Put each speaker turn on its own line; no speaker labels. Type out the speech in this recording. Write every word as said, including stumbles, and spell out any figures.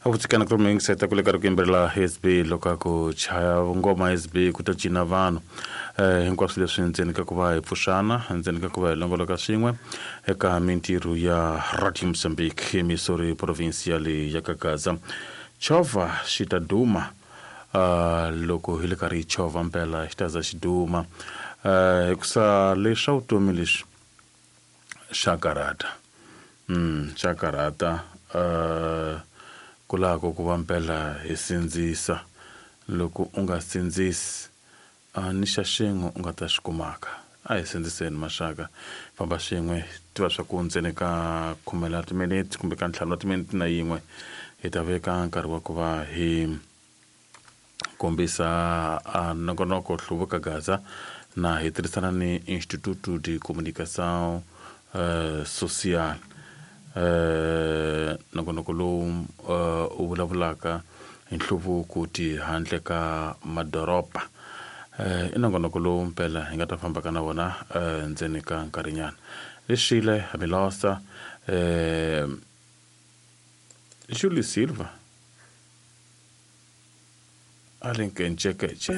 Avutsikana ku ri ku le ka ri ku yimbelela S B loko a ku chaya ngoma S B ku ta cina vanhu eh hinkwaswo leswi ndzeni ka ku va hi pfuxana ndzeni ka ku va hi longoloka swin'we eka mintirho ya Radio Mozambique Missouri provincial ya Kagaza chovha xi ta duma uh, loko hi le karhi hi chovha mpela xi ta za xi duma uh, hikusa leswa vutomi leswi xa karhata mm xa karhata uh, kulako ku va mpela hi sindzisa loko u nga sindzisi a ni xa xin'we u nga ta xi kumaka a hi sindziseni maxaka famba swin'we tiva swa ku ndzeni ka khume ra timinete kumbe ka ntlhanu wa timinete na yin'we hi ta veka nkarhi wa ku va hi kombisa a nongonoko Hluvuka Gaza na hi tirhisana ni Instituto de Comunicação uh, Social eh nongonoko lowu uh, u vulavulaka hi nhluvuko ti handle ka madoroba eh i nongonoko lowu mpela hi nga ta fambaka na wona eh ndzeni ka nkarhinyana lexile Milosa eh Julie Silva Alenkenchekeche.